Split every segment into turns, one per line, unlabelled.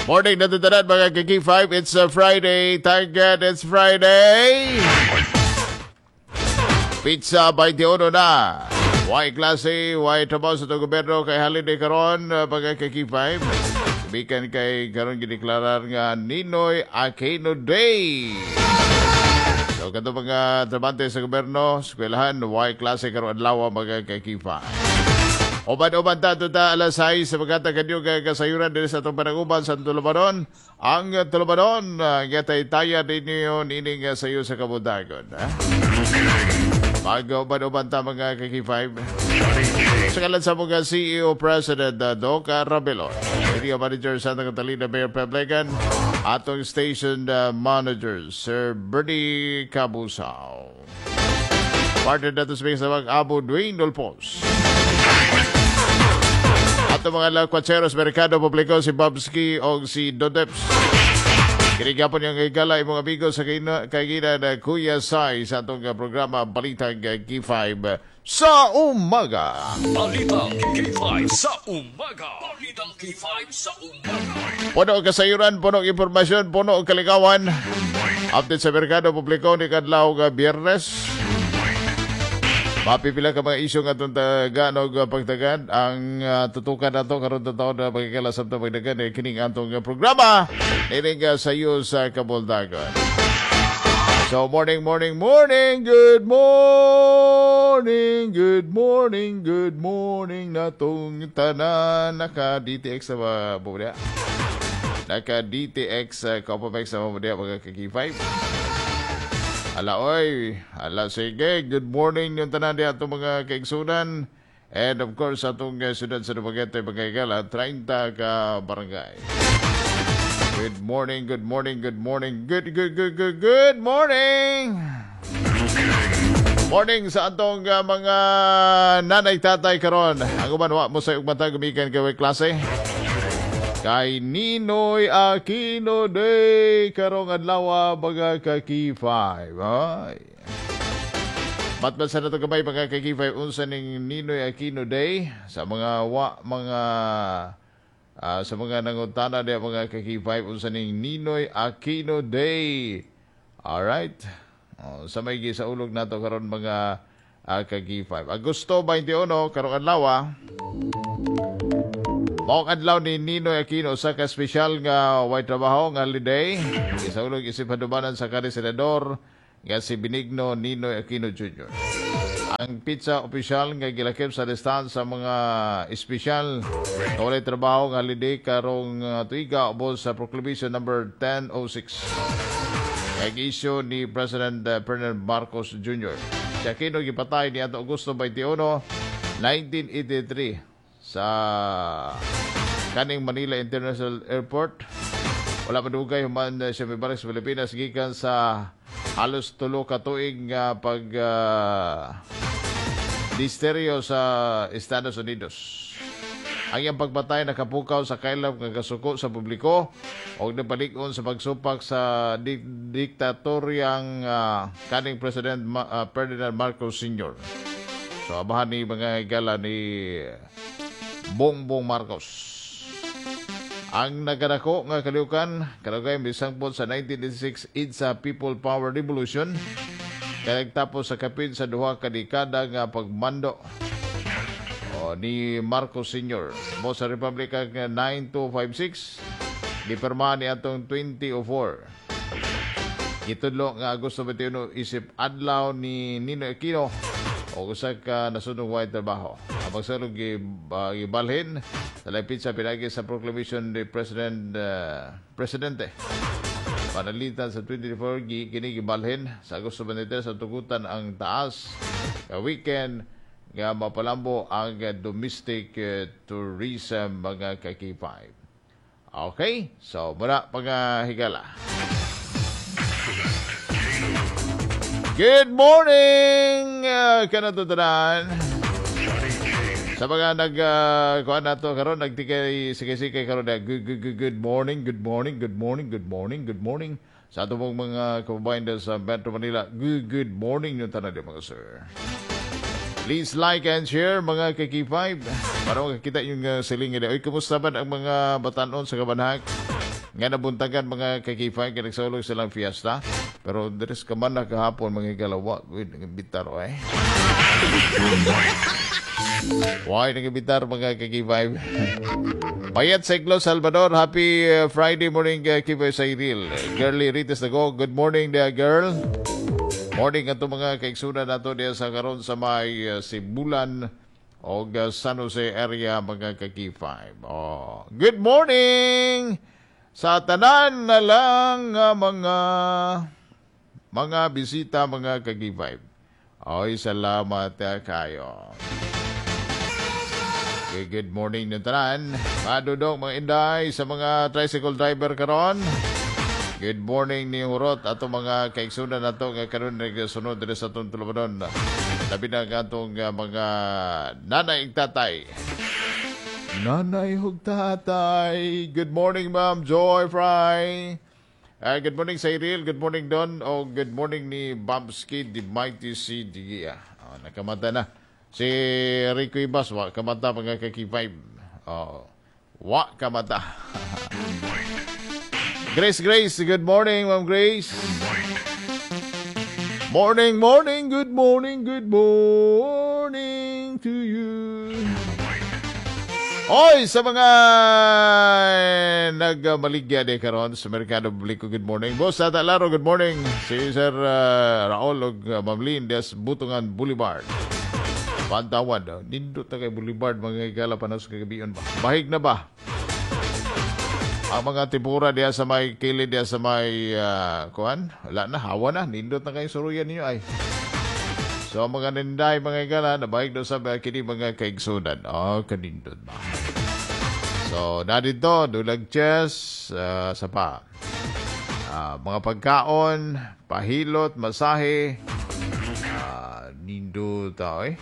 Morning na tanan, mga ka-K5. It's a Friday. Thank God it's Friday. Petsa 21 na. Way klase, way trabaho sa itong gobyerno kay holiday karon, mga ka-K5. Bikan kay karon gideklarar nga Ninoy Aquino Day. So kato mga trabante sa gobyerno, eskwelahan, way klase karon adlaw, mga ka-K5. Uban-uban ta ta alas 6 sa magata kanyo kay kasayuran diri sa atong pananguban sa Tulumanon. Ang Tulumanon, gatay taya ninyo nining sayo sa kabuntagon. Ha? Mag-uban-uban ta, mga ka-K5. Sa kalan sa mga CEO President Doc Rabelon, Area Manager Santa Catalina Mayor Peblegan, atong Station Manager Sir Bernie Cabusaw. Partner nato sa mga Abo Dwayne Dolpos. Ato mga lakwacheros Merkado Publiko, si Bobski o si Dodeps. Kinigapon yung higala imong amigo sa kagina na Kuya Sai sa atong programa Balitang K5 sa Umaga.
Balitang K5 sa Umaga. Balitang K5 sa Umaga.
Puno og kasayuran, puno og impormasyon, puno og kalikawan. Update sa merkado publiko ni kadlaw nga Biyernes. Mapipila ka mga isyu nga atong tagaan og pagtagan ang tutukan nato karon taon na magkikala sa atong pagdagan eh, kining atong programa nining sayo sa kabuntagon. So morning, morning, morning, good morning, good morning, good morning natong tanan. Naka DTX na ba mo? Naka DTX Copamex na ba mo mga ka-K5? Ala oy, ala sige, good morning yung tanan di atong mga kaigsunan. And of course, atong siyudad sa Dumaguete, mga higala, 30 ka barangay. Good morning, good morning, good morning, good, good, good, good, good morning! Morning sa atong mga nanay tatay karon. Ang uban wa mo sa mata gumikan kay klase. Kay Ninoy Aquino Day karong adlaw, mga ka-K5. Ay. Matmat sa nato gamay, mga ka-K5, unsa ning Ninoy Aquino Day sa mga wa mga sa mga nangutana diya, mga ka-K5, unsa ning Ninoy Aquino Day. Alright. Oh, sa may gisaulog nato karon, mga ka-K5. Agosto 21 karong adlaw. Maong adlaw ni Ninoy Aquino, usa ka espesyal nga way trabaho nga holiday. Gisaulog isip hadumanan sa kanhi senador nga si Benigno Ninoy Aquino Jr. Ang petsa opisyal nga gilakip sa listahan sa mga espesyal nga walay trabaho nga holiday karong tuiga ubos sa Proclamation number 1006 kay issue ni President Ferdinand Marcos Jr. Si Aquino gipatay ni ato Agosto 21, 1983 sa kaning Manila International Airport. Wala madugay human siya mibalik sa Pilipinas gikan sa halos 3 ka tuig nga pag disteryo sa Estados Unidos. Ang iyang pagpatay nakapukaw sa kaylap nga kasuko sa publiko og napalig-on sa pagsupak sa diktatoryang kaning President Ferdinand Marcos Sr. So abahan ni, mga higala, ni Bongbong Marcos. Ang nagkadako nga kalihukan kanugay misangpot sa 1986 EDSA People Power Revolution kay nagtapos sa kapin sa 2 ka dekada nga pagmando o, ni Marcos Sr. Mo sa Republic Act 9256 gipirmahan ni atong 2004. Gitudlo nga Agosto 21 isip adlaw ni Ninoy Aquino o usa ka nasunog way trabaho. Ang pagsulong gibalhin sa laing petsa pinagi sa proclamation ni President Presidente. Panalitan sa 24 kini gibalhin sa Agosto 23 sa tugutan ang taas ka weekend nga mapalambo ang domestic tourism, mga ka-K5. Okay, so muna, mga higala. Good morning! Kanatutunan. Sa mga nag kuan nato karon, nagtikay sikay-sikay karon na good, good, good, good morning, good morning, good morning, good morning, good morning sa ato pong mga kababayan dyan sa Metro Manila. Good, good morning yung tanan mga sir. Please like and share, mga ka-K5, para makakita yung siling nila. Uy, kumusta man ang mga batanon sa Kabanhak? Nga nabuntagan, mga ka-K5, kay nagsaulog silang fiesta. Pero diri ka man na kahapon, mga higala, wa gud nag-imbitar eh. Why nag-imbitar, mga ka-K5? Bayat sa Iglo, Salvador, happy Friday morning, K5 Cyril. Girly Rites Dago, good morning there, girl. Morning ato mga kaigsunan nato diya sa karon sa may Sibulan o San Jose area, mga ka-K5. Oh, good morning sa tanan na lang nga mga bisita, mga ka-K5. Oy, salamat kayo. Okay, good morning ng tanan. Madudong mga inday sa mga tricycle driver karon. Good morning ni Hurot ato mga kaigsunan nato nga karon nagsunod diri sa atong tulumanon. Labi na ang atong mga nanay ug tatay. Nanay ug tatay. Good morning, Ma'am Joy Fry. Good morning, Cyril. Good morning, Don. O good morning ni Babski, the Mighty C. Digia. Oh, nakamata na. Si Rico Ibas, wa kamata, mga ka-K5. Oh, wa kamata. Grace, Grace, good morning, Ma'am Grace. Morning, morning, good morning to you. Oy, sa mga nagmaligya di karon sa Merkado Publiko, good morning. Boss Tata Laro, good morning. Si Sir Raul ug Ma'am Lynn des Butungan Boulevard. Pantawan, nindot na kay Boulevard, mga higala, panas kagabion ba? Bahig na ba? Ang mga tipura diya sa may kilid diya sa may kuan, wala na, hawa na, nindot na kayo suruyan ninyo ay. So ang mga ninday, mga higala, nabahig daw sa kini mga kaigsunan. Oh, kanindot ba? So, na dito, dulag chess, sa pa. Mga pagkaon, pahilot, masahe, nindot, eh.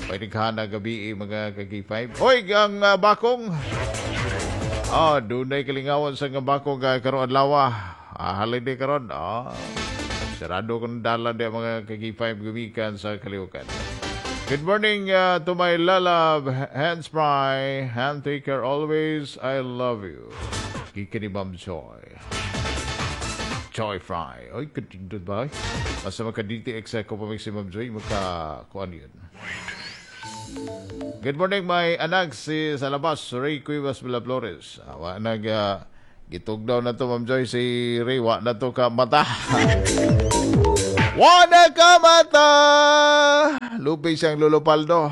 Pwede ka na gabi, eh, mga ka-K5. Hoy, ang bakong! Oh, dunay kalingawan sa nga bakong karon adlaw. Holiday karon. Sarado kon dalan di mga ka-K5 gumikan sa Kaliukan. Good morning to my lalab, hands fry, hand taker always, I love you. Gikan ni Ma'am Joy. Joy Fry. Oy, kadindot ba? Basta maka-DTX ako pa si Ma'am Joy, maka, kuan yun. Good morning, my anak si sa labas, Ray Cuevas Villaflores. Wa nag gitugdaw na to, Ma'am Joy, si Ray, wa na to ka mata. Wa na ka mata! Lupi siyang lulupaldo.